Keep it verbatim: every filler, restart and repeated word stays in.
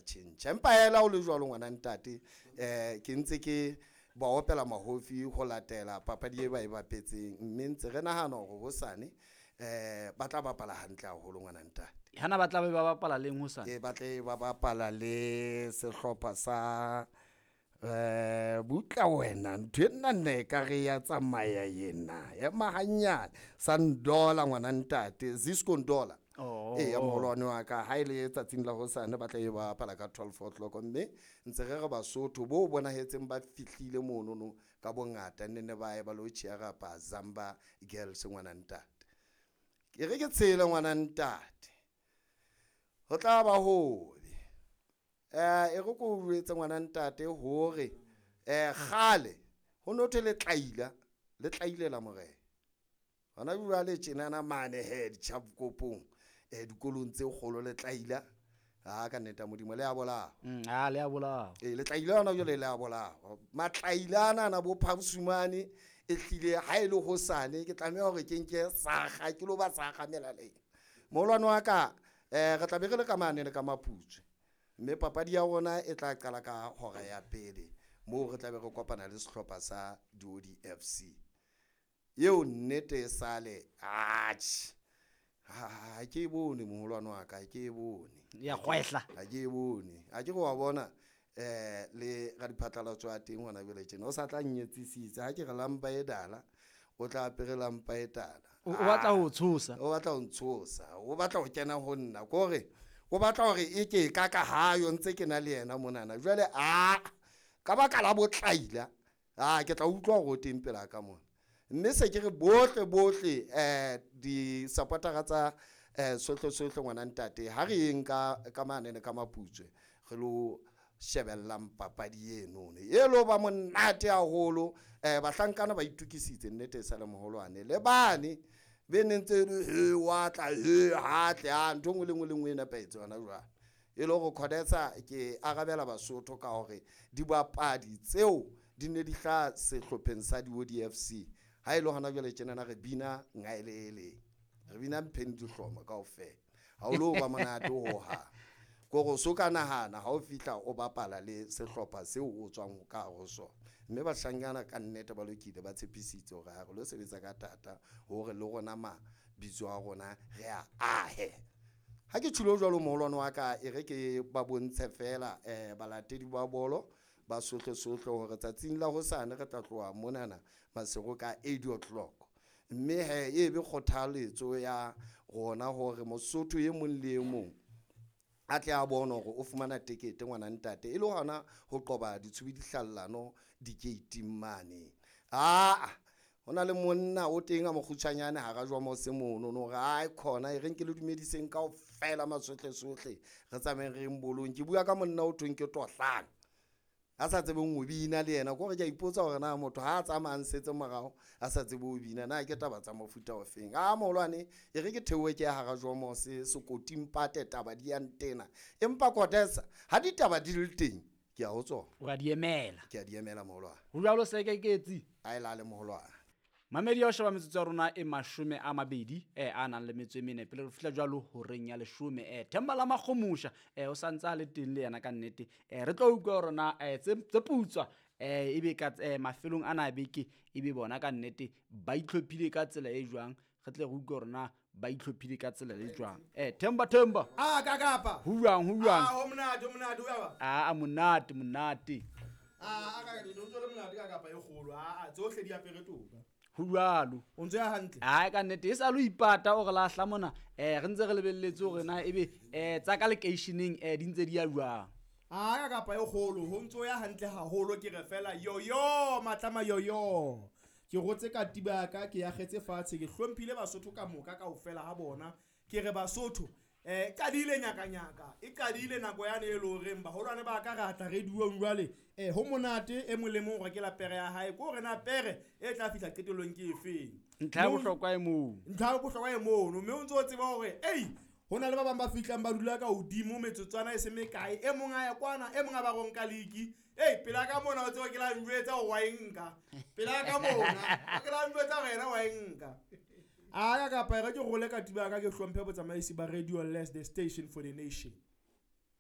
tjhentjha. Empa hela o le jwalo ngwana ntate, um ke ntse ke ba opela mahofi ho latela papadi e ba e bapetseng, mme ntse re nahana hore hosane um ba tla bapala hantle haholo ngwana ntate. Hana ba tla be ba bapala leng hosane? Ke ba tle ba bapala le sehlopha sa eh butla wena, ntho ena nna e ka re ya tsamaya yena ema hanyane sa Ndola ngwana ntate, Zisco Ndola. Oh. Ee, moholwane wa ka ha e le tsatsing la hosane ba tla e bapala ka twelve o'clock, mme ntse re re Basotho bo bonahetseng ba fihlile monono ka bongata, nne ne ba ye ba lo cheer-apa Zamba Girls ngwana ntate. Ke re ke tshele ngwana ntate, ho tla ba hobe. Eh, e re ko jwetse ngwana ntate hore, eh, kgale ho no thwe le tlaila, le tlailela morena. Hona jwale tjenana mane he ditjhapkopong, eh, dikolong tse kgolo le tlaila. Ha ka nnete ya Modimo le a bolawa. Mm, ha le a bolawa. Eh, le tlaila hona jwale le a bolawa. Matlaila ana ana bo Phapsumane e hlile ha e le hosane ke tlameha hore ke nke sakga ke lo ba sakga melaleng. Moholwane wa ka, eh, re tla be re le ka mane le ka Maputswe. Mme papadi ya rona e tla qala ka hora ya pele moo re tla be re kopana le sehlopha sa Diodi F C. Eo nnete e sale, atjhe. Ha, ha ke e bone moholwane wa ka, ha ke e bone. Ya kgwehla. Ha ke e bone. Ha ke re wa bona, eh, le radiphatlalatso a teng hona jwale tjena, o sa tla nnyetsisitse. Ha ke re lampa e dala, o tla apere lampa e tala. O, o batla ho tshosa. O batla ho ntshosa. O batla ho kena ho nna. Ke hore o batla hore e ke ka ka hayo ntse ke na le yena monana. Jwale, a, ka baka la botlaila, a, ke tla utlwa hore o teng pela ka mona. Mme se ke re bohle, bohle, eh, di-supportera tsa, eh, sohle, sohle ngwana ntate, ha re yeng ka, ka mane le ka Maputswe, re lo shebellang papadi eno. E lo ba monate haholo, eh, bahlankana ba itokisitse nnete e sa le moholwane. Le bane be ne ntse le, he, wa tla, he, ha tle, ha, ntho e nngwe le nngwe le nngwe e nepahetse hona jwale. E le hore Khodetsa ke arabela Basotho ka hore dibapadi tseo di ne di hlaha sehlopheng sa Diodi F C. Ha e le hona jwale tjenana re bina ngaelele, re bina mpheng dihlomo kaofela. Ha o lo ba monate hohang. Kore o so ka nahana ha o fihla o bapala le sehlopha seo o tswang ka hare ho sona. Mme bahlankana ka nnete ba lokile, ba tshepisitse hore ha re lo sebetsa ka thata hore le rona mabitso a rona re a ahe. Ha ke tjholo jwalo moholwane wa ka, e re ke ba bontshe fela, eh, balatedi ba bolo ba sohle sohle hore tsatsing la hosane re tla tloha monana Maseru ka eight o'clock. Mme he e be kgothaletso ya rona hore Mosotho e mong le e mong a tle a bone hore o fumana tekete ngwana ntate, e le hona ho qoba ditshubidihlallano dikeiting mane. Aa, ho na le monna o teng a mokgutshwanyane hara jwa mose mono, no re, ai, khona, e reng ke le dumediseng kaofela masohle sohle, re tsamayeng re yeng bolong. Ke bua ka monna o thweng ke Tohlang, a sa tsebeng ho bina le yena. Ke hore ke a ipotsa hore na motho ha a tsamaya a nsetse morao a sa tsebe ho bina, na ke taba tsa mofuta ofeng. A moholwane, e re ke theohe ke ya hara Jomose, sekoting pate, taba di ya ntena. Empa Khodetsa, ha ditaba di le teng, ke a ho tsona. O a di emela. Ke a di emela moholwane. Ho jwalo se ke ketsi. A e lale moholwane. Mamedi ya ho sheba metsotso ya rona e mashome a mabedi, eh, a nang le metso e mene pele re fihla jwalo horeng ya leshome. Eh, Themba la Makgomusha, eh, o sa ntse a le teng le yena ka nnete. Eh, re tlo utlwa hore na, eh, tse, tse putswa, eh, ebe ka, eh, mafelong ana a beke, ebe bona ka nnete ba itlhophile ka tsela e jwang. Re tle re utlwe hore na ba itlhophile ka tsela e jwang. Eh, Themba, Themba. Ah, ka kapa. Ho jwang, ho jwang? Ah, ho monate, ho monate, ho jwang? Ah, monate, monate. Ah, ka, ke ntse le monate ka kapa e kgolo. Ah, tsohle di apere toka. Ho jwalo. O ntse ya hantle? Ai, ka nnete, e sa lo ipata o re lahla mona. Eh, re ntse re lebelletse hore na ebe, eh, tsa ka lekeisheneng, eh, di ntse di ya jwang? Ah, ka kapa e kgolo, ho ntso ya hantle haholo, ke re fela yoyo, matlama yoyo. Ke rotse katiba ya ka, ke akgetse fatshe, ke hlomphile Basotho ka moka kaofela ha bona. Ke re Basotho, eh, qadile nyakanyaka, e qadile nako yane e le horeng baholwane ba ka re atla radiong jwale. Eh, ho monate e mong le mong hore ke la pere ya hae, ke hore na pere e tla fihla qetellong ke efeng. Ntlha ya Mme o bohlokwa e moo. Ntlha ya bohlokwa e mono, mme o ntso o tseba hore, ei, ho na le ba bang ba fihlang ba dula ka hodimo metsotswana e se mekae, e mong a ya kwana, e mong a ba ronka liki. Ei, pela ka mona o tseba ke la njwetsa hore wa e nka. Pela ka mona, ke la njwetsa hore yena wa e nka. A ya kapa e re ke role katiba ya ka, ke hlomphe botsamaisi ba Radio Less, the station for the nation.